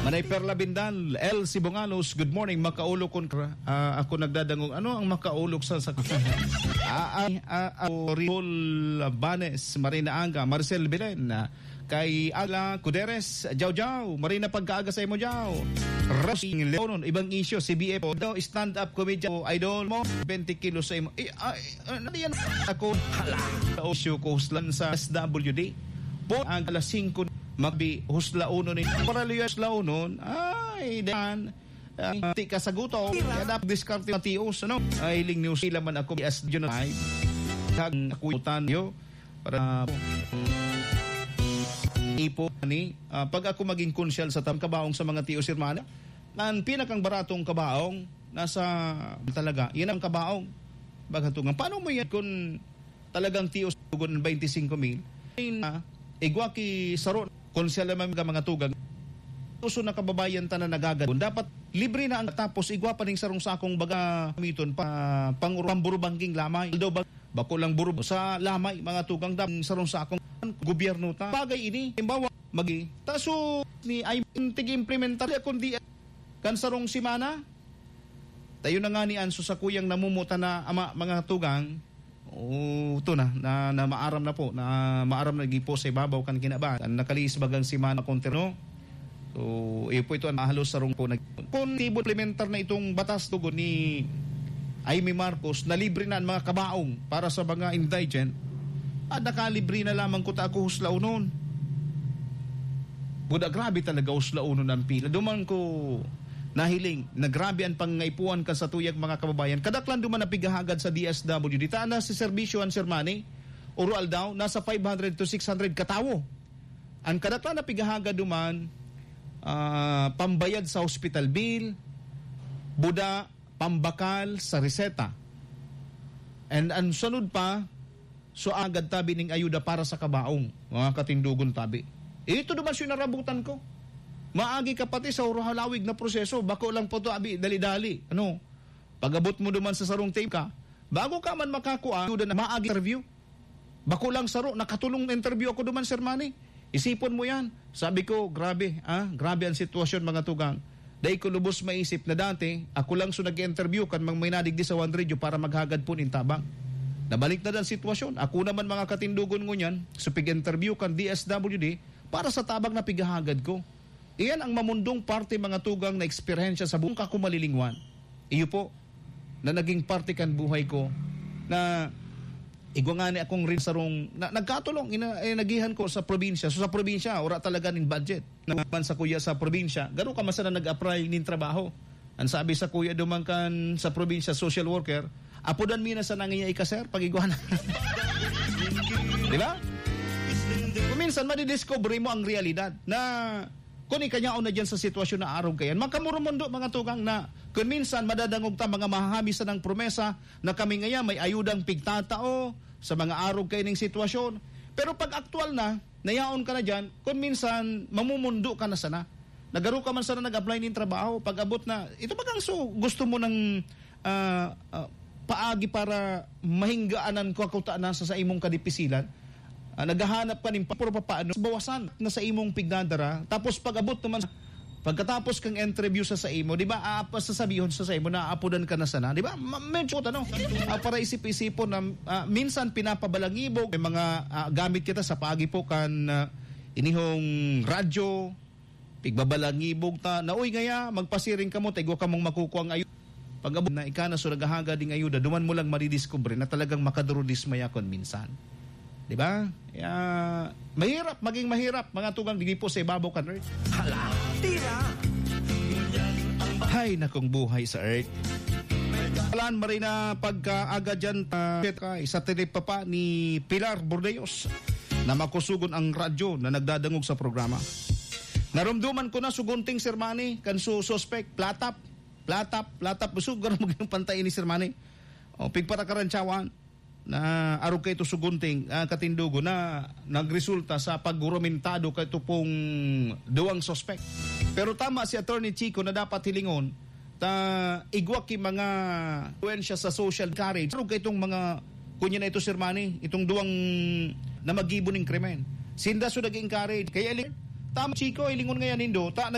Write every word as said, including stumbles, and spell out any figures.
Manay Perla Bindal, L C Bongalos, good morning, makaulog kun, ah, ako nagdadangog. Ano ang makaulog sa, sa, ah, ah, ah, ah, Rihol Banes, Marina Anga, Marcel Belen, ah, kay Ala Cuderes, Jao Jao, Marina pagkaaga sa imo, Jao. Rosing Leonon, ibang isyu, C B F, daw stand-up comedian, idol mo, twenty kilos sa imo. Eh, ay, ah, ano yan? Ako, hala, sa isyu ko, huslan sa S W D. Po, ang alas singko, magbi, husla uno ni, para liyo husla uno, ay, dan, ah, ti ka sa gutom, kaya dapat diskarte na tios, ano? Ay, ling news sila man ako, as yun ay, kag nakutan yo, para ipo ni, ah, pag ako maging konsyal sa tam kabaong sa mga tios, hermana, ang pinakang baratong kabaong, nasa, talaga, yan ang kabaong. Baga tugang, paano mo yan kung talagang tios tugon ang twenty-five mil? Ay na, igwa ki saro, kung siya lamang mga, mga tugang, uso na kababayan ta na nagagad. Dapat libre na ang tapos igwa pa ning sarong sakong baga miton pa pang pamburubangking lamay. Although bag-, bako lang burub sa lamay, mga tugang, dapat sarong sakong gobyerno ta. Bagay ini, halimbawa, magi, taso ni ay tig-implementar kundi kan sarong semana, tayo na nga ni Anso sa kuyang namumuta na ama, mga tugang. O, ito na, na, na maaram na po, na maaram na gipo sa ibabaw kan kinaban. Ang nakaliis bagang semana kontra, no? So, iyo po ito ang halos sarong po nag-, kung implementar na itong batas tugon ni Imee Marcos na libre na ang mga kabaong para sa mga indigent, at nakalibre na lamang ko ta ako huslaunon. Buda, grabe talaga huslaunon ang pila. Duman ko nahiling na grabe an pangangaipuhan kan satuyang mga kababayan. Kadaklan duman na pighahagad sa D S W D. Ta na si serbisyo an Sir Manny, oro aldaw, nasa five hundred to six hundred katawo. An kadaklan na pighahagad duman, ah, pambayad sa hospital bill, buda, pambakal sa reseta. And an sunod pa, so agad tabi ning ayuda para sa kabaong, mga katindogon tabi. Ito duman siya narabutan ko. Maagi ka pati sa hurhalawig na proseso, bako lang po to, abi, dali-dali. Ano? Pag-abot mo duman sa sarong tape ka, bago ka man makakuha, ayuda na maagi interview. Bako lang saro, nakatulong interview ako duman, Sir Manny. Isipon mo yan. Sabi ko, "Grabe, ah, grabe ang sitwasyon, mga tugang." Dai ko lubos maisip na dati, ako lang so nag-interview kan mga may nadigdi sa One Radio para maghagad po nin tabang. Nabalik na dan sitwasyon. Ako naman, mga katindogon, ngunyan, so pig-interview kan D S W D para sa tabang na pighahagad ko. Iyan ang mamundong parte, mga tugang, na eksperyensya sa buong kakumalilingwan. Iyo po, na naging parte kan buhay ko, na igwa ngani akong rin sarong, na, nagkatulong, ina-, eh, nagihan ko sa probinsya. So, sa probinsya, wala talaga nin budget. Naman sa kuya sa probinsya, garo ka man sana nag-apply nin trabaho. Ang sabi sa kuya duman kan sa probinsya, social worker, "Apodan mi na sana ngiya ika, sir, pag-igwa na." Di ba? Kung minsan, madidiscover mo ang realidad na kung ikanyaon na dyan sa sitwasyon na arog kayan, makamurumundo, mga tugang, na kung minsan madadangog ta mga mahahabi sanang promesa na kami ngaya may ayudang pigtatao sa mga arog kaining sitwasyon. Pero pag aktual na, nayaon ka na dyan, kung minsan mamumundo ka na sana. Nagaro ka man sana nag-apply nin trabaho, pag-abot na, ito bagang so, gusto mo ng, ah, ah, paagi para mahinggaanan ko ako ta na sa, sa imong kadipisilan? Ah, naghahanap ka nin pa-, pero papaano? Bawasan na sa imong pigdadara. Tapos pag-abot naman, pagkatapos kang interview sa, sa imo, di ba, aapa-, sasabihon sa, sa imo, naapodan ka na sana, di ba? Ma-, medyo, ano, ah, para isip-isipon na, ah, minsan pinapabalangibog, may mga, ah, gamit kita sa paagi po kan, ah, inihong radyo, pigbabalangibog ta, na, "Uy, ngaya, magpasiring kamo, ta igwa kamong makukuang ayo." Pag-abot na ika na, so naghahagad ding ayuda, duman mo lang madidiskubre na talagang makadurudismaya kon minsan. Di ba? Kaya, mahirap, maging mahirap, mga tugang, digdi po sa ibabaw kan earth. Hala, tira! Hay, nakong buhay sa earth. Alan Marina, pagkaaga dyan, ah, kay sa tinipapa ni Pilar Bordeos na makusugon ang radyo na nagdadangog sa programa. Narumduman ko na sugunting, Sir Manny, kan su-, suspek, platap, platap, platap. Busog ka na maging pantay ni Sir Manny. O, pigpatakaran, tsawan. Na arog kaito sugunting, ah, katindogo na nagresulta sa paggurumentado kaito pong duwang suspek. Pero tama si Attorney Chico na dapat hilingon, ta igwa ki mga influensya sa social courage. Arog kaitong mga, kunya na ito, Sir Manny, itong duwang na magibo ning krimen. Sinda so nag-encourage. Kaya, ili-, tama, Chico, ilingon ngayon nindo, ta,